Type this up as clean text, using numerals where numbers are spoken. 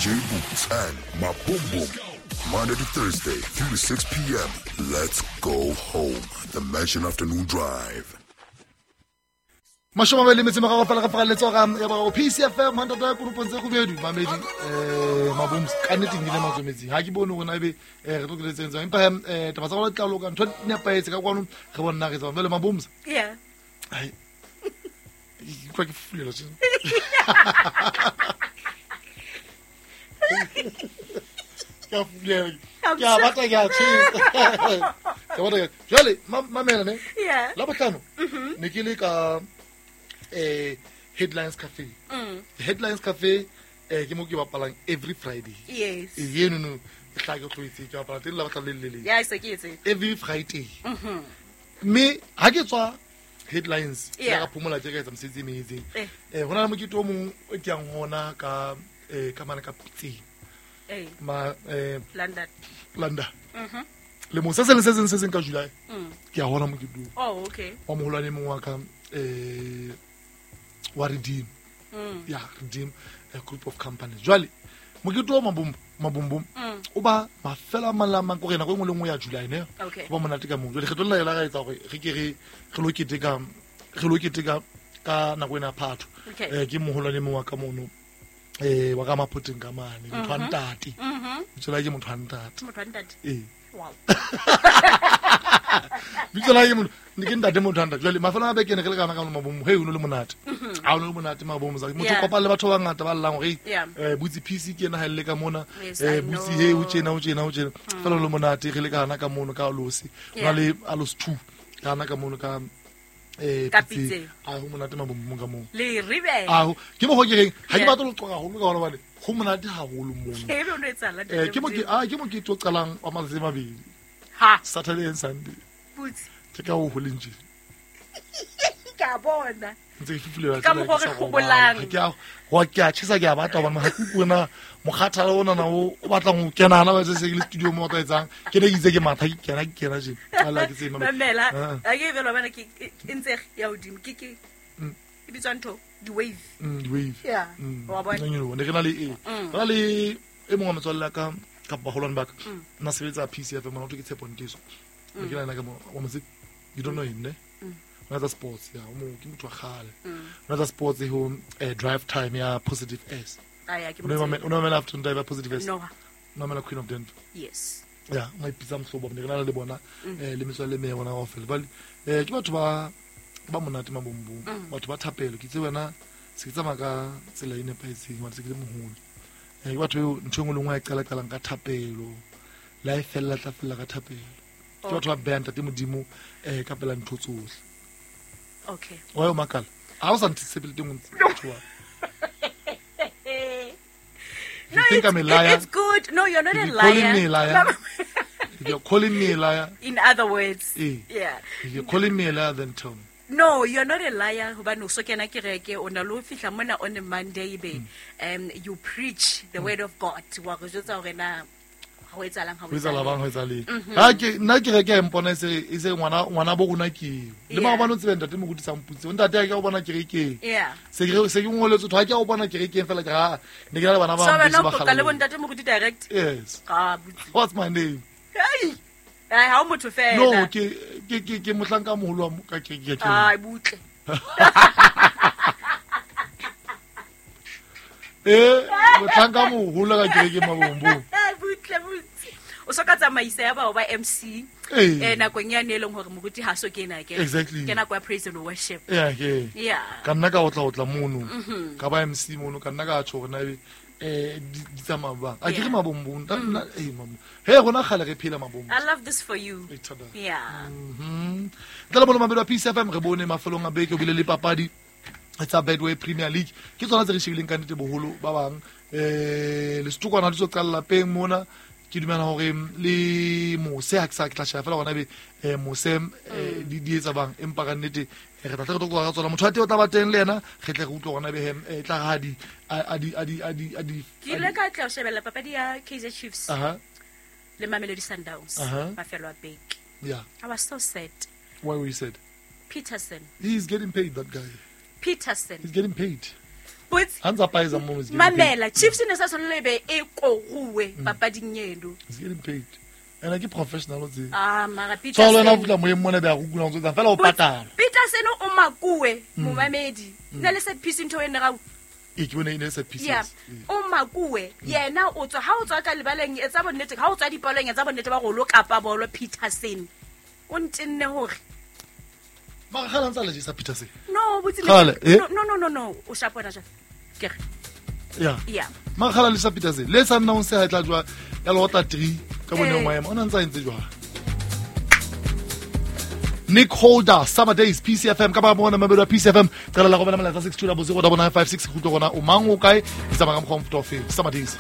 DJ Boots and Maboom Boom. Monday to Thursday, 3 to 6 p.m. Let's go home. The Mansion Afternoon Drive. Mashome a mabedi le metso e meraro fela re faralletse hora ya boraro PCFM hantata ya konopong tse kgubedu mamedi maboms ka nnete nkile matsometsing ha ke bone hore na ebe re tlo keletseng tsang empa taba tsa rona di tla loka ntho di nepahetse ka kwano re bone na re tswa jwale maboms. Yeah. Ai, ke utlwa ke fulela tje. Ke a fulela. Ke a batla ke a tjhesa. Ke a batla ke a- Jwale, mamela ne? Yeah. La bohlano, ne ke le ka Headlines Cafe. Headlines Cafe ke mo ke bapalang every Friday. Yes. Eno no, ke tla ke tloetse ke bapala teng la bohlano le le leng. Yeah, se ke etse. Every Friday. Mme ha ke tswa Headlines, ke Yeah. ka phomola tje ka etsa mosebetsi e meng e itseng. Eh. Ho na le mokete o mong o ke yang ho ona ka mane ka Pitseng. Eh. Ma London. London. Le mo se seng le se seng se seng ka July. Ke a hona mokete oo. Oh, okay. Wa moholwane e mong wa ka wa Redeem. Ya, Redeem, a group of companies. Jwale mokete o mabombom o ba mafelo a mang le a mang, kore nako e nngwe le nngwe ya July ne. Okay. O ba monate ka moo. Jwale kgetho lena la ka etsa hore re ke re lo keteka, re lo keteka ka nako ena ya Phatho. Okay. Ke moholwane e mong wa ka mono, wa ka Mapoteng ka mane, motho wa ntate. Bitso la hae ke motho wa ntate. Motho wa ntate. Ee. Wow. Bitso la hae ke motho, ne ke ntate motho wa ntate. Jwale mafelo a beke ne re le kana ka mabomo, hey, o no le monate. Ha o no le monate mabomo, motho Yeah. o kopana le batho ba bangata ba llang hore, Yeah. Butsi PC ke ena ha e le ka mona. Yes, I Butsi, know. hey, o tjena, o tjena, o tjena. Fela o le monate, re le kana ka mono ka Alose. Ho na Yeah. le Alose 2 kana ka mono ka, Ka Pitseng. Pitseng. A ho monate mabomo ka moo. Le ribe. A ho, ke mokgwa ke reng, ha ke Yeah. batle ho qoqa haholo ka hona hobane ho monate haholo mono. Ke ebe o no etsahala, ntate Ke Modimo. ke mokete o qalang wa matsatsi a mabedi. Ha. Saturday and Sunday. Butsi. Ke ka ho holeng tje. Ke a bona. Ntse ke fufulela Ka tsela mokgwa ke sa re robala. hlobolang. Ha ke a, wa ke a tjhesa, ke a batla hobane ha ke utlwe na mokgathala ona na o batlang ho kena hana ba se ke le studio mo o tla etsang. Ke ne ke itse ke matha, ke kena, ke kena tje. Ala ke tsebe, Mamela. Ah. Ha ke e bela bana ke e ntse ya hodimo. Ke ke e bitswa ntho di-wave. Di-wave. Yeah. Wa bona? Nna nyoloha. Ne re na le e. Re na le e mong wa metswalle ya ka, kapa baholwane ba ka. Nna sebetsa PCF, mona ho thwe ke Tshepo Nteso. Ne ke na le yena ka mo, wa mo tseba? You don't know him, ne? O etsa sports, ya, o mo, ke motho wa kgale. O etsa sports ho, drive time ya Positive S. Ah, ya, ke O no mo mamela, tseba. o no mamela afternoon drive ya Positive S? No. O no mamela Queen of Denver? Yes. Ya, o ipitsa mohlobo, ne re na le bona, le metswalle e meng ya bona kaofela. Jwale, ke batho ba monate mabombong, batho ba thapelo. Ke itse wena, se ke tsamaya ka tsela e nepahetseng, hobane se ke le moholo. Ke batho eo ntho e nngwe le nngwe a e qala-qalang ka thapelo, le ha e fella, tla fella ka thapelo. Ke batho ba behang ntate Modimo, ka pela ntho tsohle. Okay. Wa yo makala? Ha o sa ntshepe le teng o ntse motho wa. No, You think I'm a liar? it's good. No, you're not If a you're calling liar. me a liar, if you're calling me a liar, In other words. Eh. Yeah. If you're calling me a liar, then tell me. No, you're not a liar. Hobane o so kena kereke, o na le ho fihla mona on a Monday be, you preach the word of God. Wa re jwetsa hore na ha ho etsahalang, ha ho Ho etsahala etsahalang. bang, ho etsahala eng? Ha ke, nna kereke ya mpona e se, e se ngwana, ngwana bo rona ke eo. Le Yeah. maobane o tsebe ntate Moruti sa mputse. Ntate ha ke a o bona kerekeng. Yeah. Se ke, se ke ngoletswe thwe, ha ke a o bona kerekeng fela ke re, ha, ne ke na le bana ba So bang wena ba o qoqa le kgalale. bo ntate Moruti direct? Yes. Ah, butsi. What's my name? Hey. Ai, ha o motho fela. No, ke mohlanka moholo wa ka kereke ya ke. Ai, butle. Mohlanka moholo ka kereke mabombong. Ai, butle, butle. O so ka tsamaisa ya bao ba MC. Ee. Nakong yane e leng hore moruti ha so kena ke. Exactly. Ke nako ya praise and worship. Yeah, yeah. Yeah. Ka nna ka otla mono. Ka ba MC mono, ka nna ka tjho hore na ebe, di tsamaya bang. A ke re Yeah. mabombong, nna, mabombong. He, rona kgale re phela mabombong. I love this for you. E thata. Yeah. Ntle le bolo mabelo a Peace FM re bone mafelong a beke o bile le papadi tsa Betway Premier League. Ke tsona tse re shebileng ka nnete boholo ba bang. Le setokwana di tlo qala lapeng mona. Ke dumela hore le mose ha ke sa ke tla sheba fela hore na ebe, mose, di etsa bang, empa ka nnete, re tla tle re tlo qoqa ka tsona. Motho wa teng o tla ba teng le yena, re tle re utlwe hore na ebe, e tla re ha di, a, a di, a di, a di, a di, Ke ile ka tla shebella papadi ya Kaizer Chiefs Aha. le Mamelodi Sundowns Aha. mafelo a beke. Yeah. I was so sad. Why were you sad? Peterson. He's getting paid, that guy. Peterson. He's getting paid. Botse. Ha ntsa paeza mono, it's getting Mamela, Chiefs e ne sa tshwanela e be e koruwe papading eno. paid. It's getting paid. Ene ke professional o tsebe. Ah, mara So le wena o Peterson. fihla moyeng mona be a go kula o ntso etsang fela o patala. Peterson o makuwe momamedi. Na le set piece ntho e ne ga Ee, ke bone e ne e set pieces. ya Ee. o makuwe yena o tswa ha o tswa ka lebaleng etsa bonnete ha o tswa dipalong etsa bonnete ba gore o lo kapa bolo. Peterson o ntenne hore Mara kgale a ntsa le jesa Peterson. No botse Kgale, eh? no no no no o shapo wena jwale ke re Ya. ya. Mara kgale a le jesa Peterson. Le sa nna o se ha e tla jwa ya lota 3 ka bone Eh. maemo. O na ntsa a entse jwang? Nick Holder, Summer Days, PCFM, ka ba mona mamelo ya PCFM, qala la romela molaetsa 6200 9956 kgutlo rona o mang o kae, e tsamaya ka mokgwa o mofuta o feng. Summer Days.